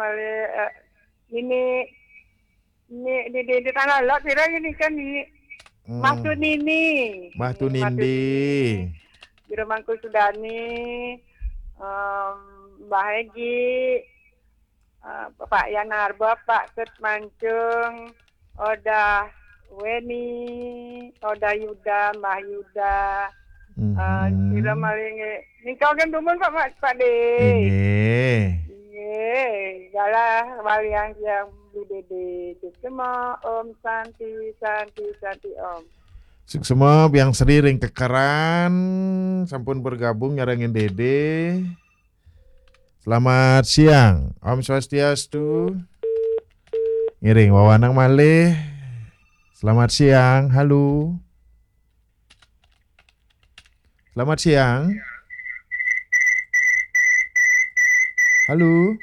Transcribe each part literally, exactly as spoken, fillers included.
Mari, eh, ini, ini, di, di, di tanah lot, kira ini kan ini. Hmm. Mas Tunini. Mas Tunindi. Jero Mangku Sudani, em, Mbah Egi, eh, Pak Yanarba, Pak Ket Mancung, Oda Weni, Oda Yuda, Mbah Yuda, eh, hmm, sira maring, eh, nika kan dumun, Pak, Pak, Pak De. Inggih. Inggih, galah walian yang Bu Dede. Suksma, Om Santi, Santi, Santi, Om. Suksma, Biang Sri ring Kekeran, sampun bergabung nyarengin Dede. Selamat siang. Om Swastiastu. Ngiring wawanang malih. Selamat siang. Halo. Selamat siang. Halo.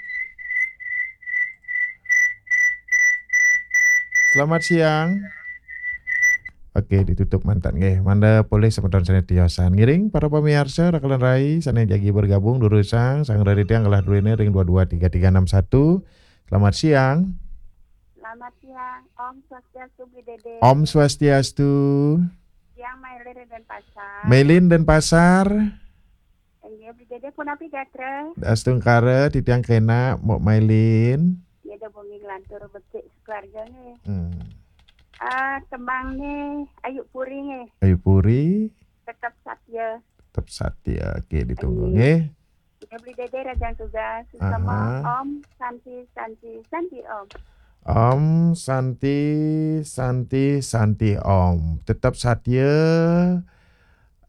Selamat siang. Oke, ditutup mantan nggih. Mangda polih semeton sane tiosan. Ngiring para pamiarsa, rakelan rai sane jagi bergabung durusang sang reritiang galah druene ring dua dua tiga tiga enam satu. Selamat siang. Selamat siang, Om Swastiastu, Bu Dede. Om Swastiastu. Siang, Mailin Denpasar. Mailin Denpasar. Inggih, Bu Dede punapi gatra? Astungkara titiang kena, Mbok Mailin. Ya, da bengi nglantur becik sekeluarga nggih. Hmm. Ah, tembangne Ayu Puri nggih. Ayu Puri. Tetep Satya. Tetep Satya. Oke, ditunggu nggih. Iya, Bu Dede, rajang tugas. Suksma. Aha. Om Santi, Santi, Santi, Om. Om Santi, Santi, Santi, Om. Tetep Satya.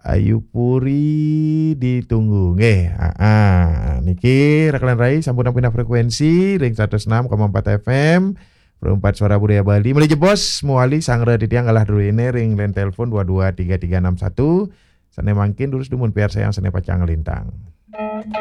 Ayu Puri ditunggu nggih. Ah, ah. Niki rakelan rai sampun pindah frekuensi ring seratus enam koma empat F M, Perempat Suara Budaya Bali. Malih jebos mawali sang reritiang galah druene ring line telepon dua dua tiga tiga enam satu. Sane mangkin durus dumun piarsayang sane pacang nglintang.